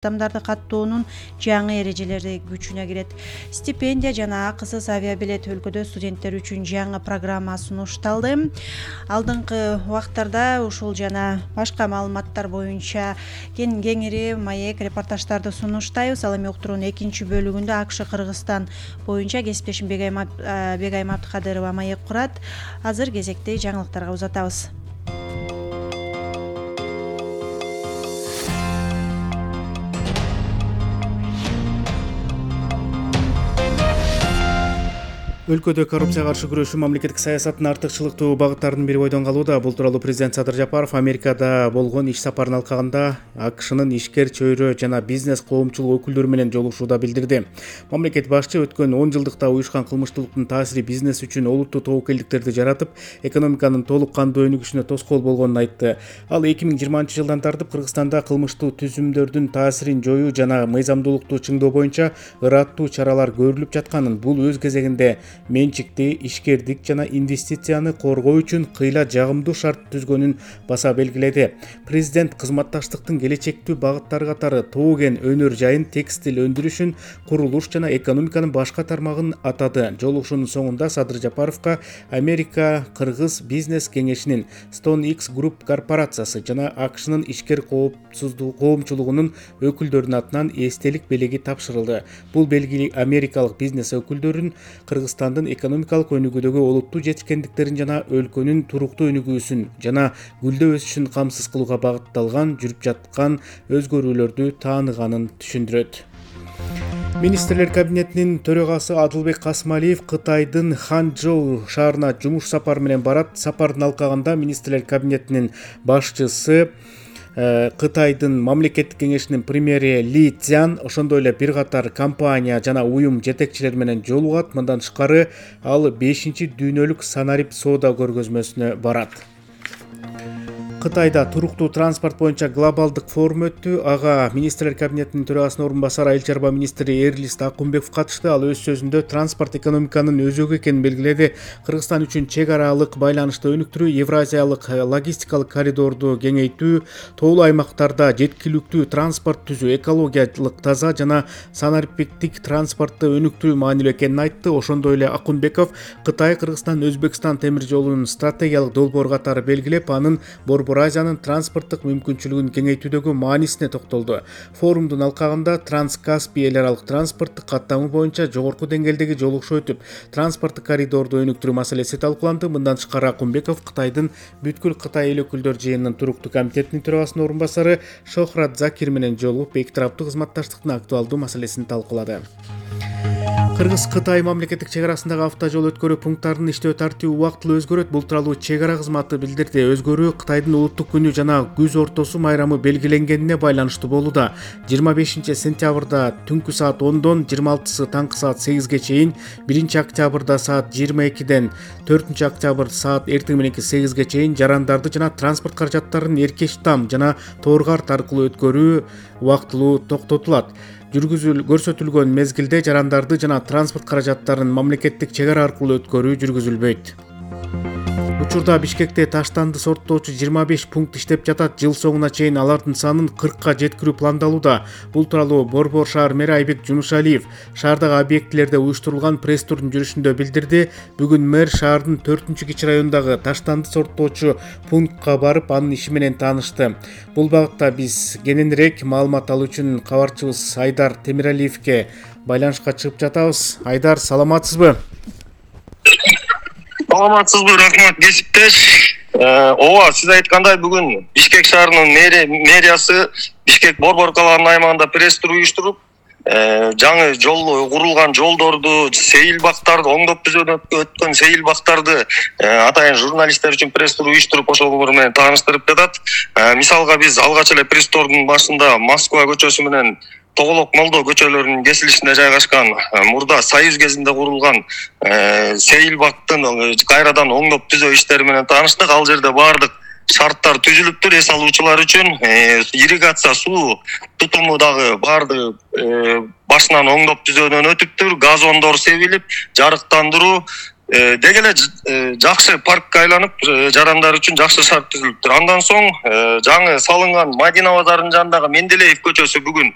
адамдарды каттоонун жаңы эрежелери күчүнө кирет. Стипендия жана акысыз авиабилет өлкөдө студенттер үчүн жаңы программа сунушталды. Алдыңкы убактарда ушул жана башка маалыматтар боюнча кеңири маек репортаждарды сунуштайбыз. Ал эми уктуруунун экинчи бөлүгүндө АКШ Кыргызстан боюнча кесиптешим Бегайым Абдыкадырова маек курат. Азыр кезекти жаңылыктарга узатабыз. Өлкөдө коррупцияга каршы күрөшүү мамлекеттик саясаттын артыкчылыктуу багыттарынын бири бойдон калууда. Бул тууралуу президент Садыр Жапаров Америкада болгон иш сапарын алкагында АКШнын ишкер, чөйрө жана бизнес коомчулук өкүлдөрү менен жолугушууда билдирди. Мамлекет башчы өткөн 10 жылдыкта уюшкан кылмыштуулуктун таасири бизнес үчүн олуттуу тобокелдиктерди жаратып, экономиканын толук кандуу өнүгүшүнө тоскоол болгонун айтты. Ал 2020-жылдан тартып Кыргызстанда кылмыштуу түзүмдөрдүн таасирин жоюу жана мыйзамдуулукту чыңдоо боюнча ыраттуу чаралар көрүлүп жатканын, бул өз кезегинде менчикти, ишкердик жана инвестицияны коргоо үчүн кыйла жагымдуу шарт түзгөнүн баса белгиледи. Президент кызматташтыктын келечектүү багыттары катары тоо кен өнөр жайын, текстил өндүрүшүн, курулуш жана экономиканын башка тармагын атады. Жолугушуунун соңунда Садыр Жапаровго Америка Кыргыз бизнес кеңешинин StoneX Group корпорациясы жана АКШнын ишкер коомчулугунун өкүлдөрүнүн атынан эстелик белеги тапшырылды. Бул белги америкалык бизнес өкүлдөрүн Кыргызстандын экономикалык өнүгүүдөгү олуттуу жетишкендиктерин жана өлкөнүн туруктуу өнүгүүсүн жана гүлдөө өсүшүн камсыз кылууга багытталган жүрүп жаткан өзгөрүүлөрдү тааныганын түшүндүрөт. Министрлер кабинетинин төрагасы Адылбек Касымалиев Кытайдын Ханчжоу шаарына жумуш сапары менен барат. Сапардын алкагында министрлер кабинетинин башчысы, Кытайдын мамлекеттик кеңешинин премьери Ли Цзян, ошондой эле бир катар компания жана уюм жетекчилери менен жолугат. Мындан тышкары ал 5-чи дүйнөлүк Санарип соода көргөзмөсүнө барат. Кытайда туруктуу транспорт боюнча глобалдык форум өттү. Ага министрлер кабинетинин төрагасынын орун басары Айыл чарба министри Эрлист Акунбеков катышты. Ал өз сөзүндө транспорт экономиканын өзөгү экенин белгиледи. Кыргызстан үчүн чек аралык байланышты өнүктүрүү, евразиялык логистикалык коридорду кеңейтүү, тоолуу аймактарда жеткиликтүү транспорт түзүү, экологиялык таза жана санариптик транспортты өнүктүрүү маанилүү экенин айтты. Ошондой эле Акунбеков Кытай, Кыргызстан, Өзбекстан темир жолунун стратегиялык долбоор катары белгилеп, анын Борбор Азиянын транспорттук мүмкүнчүлүгүн кеңейтүүдөгү маанисине токтолду. Форумдун алкагында Транскаспий эл аралык транспорттук каттамы боюнча жогорку деңгээлдеги жолугушуу өтүп, транспорттук коридорду өнүктүрүү маселеси талкууланды. Мындан тышкары Акунбеков Кытайдын бүткүл Кытай эл өкүлдөр жыйынынын туруктуу комитетинин төрагасынын орун басары Шохрат Закир менен жолугуп, эки тараптуу кызматташтыктын актуалдуу маселесин талкуулады. Кыргыз-Кытай мамлекеттик чек арасындагы автожол өткөрүү пункттарынын иштөө тартиби убактылуу өзгөрөт. Бул тууралуу чек ара кызматы билдирди. Өзгөрүү Кытайдын улуттук күнү жана күз ортосу майрамы белгиленгенине байланыштуу болууда. 25 сентябрда түнкү саат 10дон 26 таңкы саат 8ге чейин, 1 октябрда саат 22ден 4 октябрь саат эртең мененки 8ге чейин жарандарды жана транспорт каражаттарын Эркеш Там жана Торгарт аркылуу өткөрүү убактылуу токтотулат. Көрсөтүлгөн мезгилде жарандарды жана транспорт каражаттарын мамлекеттик чек ара аркылуу өткөрүү жүргүзүлбөйт. Учурда Бишкекте таштанды сорттоочу 25 пункт иштеп жатат. Жыл соңуна чейин алардын санын 40ка жеткирүү пландалууда. Бул тууралуу Борбор шаар мэри Айбек Жунушалиев шаардагы объектилерде уюштурулган пресс-турдун жүрүшүндө билдирди. Бүгүн мэр шаардын 4-кичи райондогу таштанды сорттоочу пунктка барып, анын иши менен таанышты. Бул багытта биз кененирээк маалымат алуу үчүн кабарчыбыз Айдар Темиралиевке байланышка чыгып жатабыз. Айдар, саламатсызбы? Саламатсызбы, рахмат кесиптеш. Ооба, сиз айткандай бүгүн Бишкек шаарынын мэриясы Бишкек Борбор калаанын аймагында пресс-тур уюштуруп, жаңы жол курулган жолдорду, сейилбактарды, оңдоп түзөтүп өткөн сейилбактарды атайын журналисттер үчүн пресс-тур уюштуруп, ошолор менен тааныштырып жатат. Мисалга биз алгач эле пресс-турдун башында Москва көчөсү менен Тоголок Молдо көчөлөрүнүн кесилишинде жайгашкан, мурда Союз кезинде курулган сейилбактын кайрадан оңдоп түзөө иштери менен тааныштык. Ал жерде баардык шарттар түзүлүптүр. Эс алуучулар үчүн ирригация суу тутуму дагы баардыгы башынан оңдоп түзөөдөн өтүптүр. Газондор себилип, жарыктандыруу, деги эле жакшы паркка айланып, жарандар үчүн жакшы шарт түзүлүптүр. Андан соң жаңы салынган Мадина базарынын жанындагы Менделеев көчөсү бүгүн